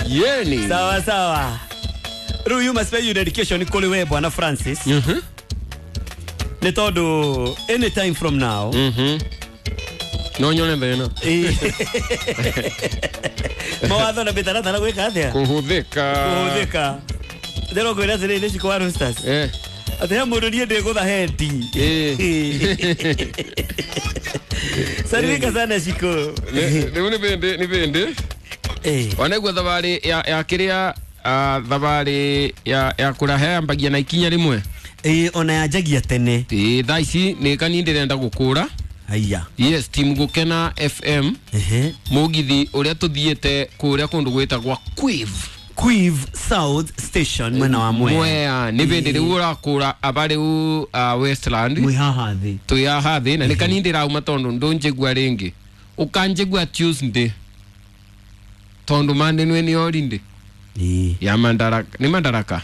Yeni. Sawa sawa. Rĩu you must pay your dedication kũrĩ we bwana Francis. Nĩ tondũ anytime from now. No nyone thĩna. Mawatho na mĩtaratara gwĩka atĩa? Kũhũthĩka. Kũhũthĩka. Ndĩro ngwĩra atĩrĩrĩ nĩ cikũ wa Roosters. Atĩ he mũndũ niĩ ndĩgũtha hendi. Salimika sana Shiko. Rĩu nĩ bĩndĩ nĩ bĩndĩ. Wanaigua thabarĩ ya kĩrĩa thabarĩ ya kũraha yambagia na ikinya rĩmwe. Ona yanjagia tene. Thaa ici nĩ kani ndĩrenda gũkũra. Haya. Yes, team Gũkena FM. Mũgithi ũrĩa tũthiĩte kũrĩa kũndũ gwĩtagwa Quiv. Quiv South Station mwena wa Mwea. Mwea nĩ bĩndĩ rĩu ũrakũra aba rĩu Westland. Mwĩ haha thĩ. Twĩ haha thĩ na nĩ kani ndĩrauma tondũ ndũnjigua rĩngĩ. Ũkanjigua Tuesday. Tondũ Monday nĩ nĩ holiday. Ya Madaraka, nĩ Madaraka?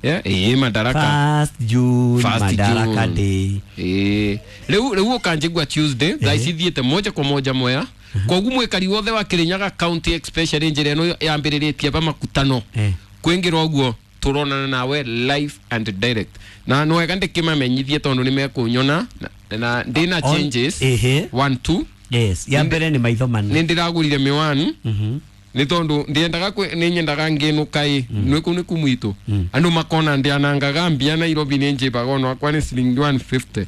Yeah, Madaraka. First June, First Madaraka June. Day. Rĩu ũkanjigua Tuesday, thaa ici thiĩte moja kwa moja Mwea. Koguo mwĩkari wothe wa Kirinyaga County especially njĩra ĩno yambĩrĩrĩtie ba makutano. Kwĩngĩra ũguo tũronana nawe live and direct. Na nĩ wega ndĩkĩmamenyithie tondũ nĩ mekũnyona na ndĩna changes. 1 2. Yes, ya mbere nĩ maitho mana. Nĩ ndĩragũrire miwani. Nĩ tondũ ndiendaga nĩ nyendaga ngĩnũka ĩ nĩ kũu nĩ kumwitũ andũ makona ndianangaga mbia Nairobi nĩ njĩbaga ona wakwa nĩ ciringi 150.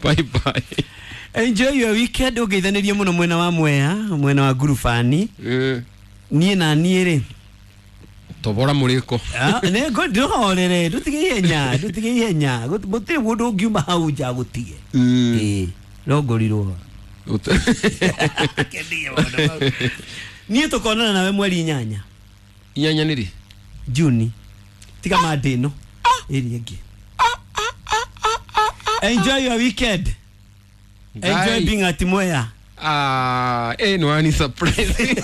Bye bye. Enjoy your weekend. Ũngeithanĩrie mũno mwena wa Mwea, mwena wa Ngurubani. Niĩ na niĩ rĩ tobora mũrĩko. Nĩ ndũhorere, ndũtige ihenya, ndũtige ihenya. Gũtirĩ mũndũ ũngiuma hau nja gũtige. No ngorirwo. Niĩ tũkonana nawe mweri 8. 8 nĩ rĩ? Juni. Tiga Monday ĩno. Ĩrĩa ĩngĩ. Enjoy your weekend. Enjoy being at Mwea. No ani surprise.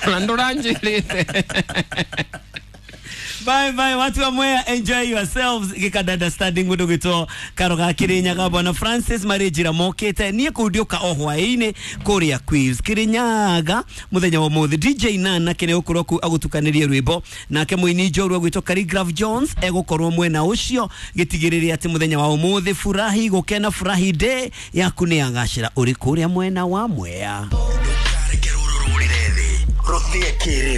Ndũranjĩrĩte. Bye bye watu wa Mwea, enjoy yourselves. Gikadada standing mũndũ gwĩtwo Karoga Kirinyaga bwana Francis marĩ njĩra mokĩte. Niĩ kũu ndĩũka o hwaĩ-inĩ kũrĩa Quiz Kirinyaga mũthenya wa ũmũthĩ. DJ Nana kĩrĩa ũkorwo kũu agũtukanĩrie rwĩmbo, nake mũini njorua gwĩtwo Khaligraph Jones egũkorwo mwena ũcio gĩtigĩrĩre atĩ mũthenya wa ũmũthĩ furahi gũkena furahi day yaku nĩ yagacĩra ũrĩ kũrĩa mwena wa Mwea. Rũrĩre thĩ rũthĩe kĩrĩu.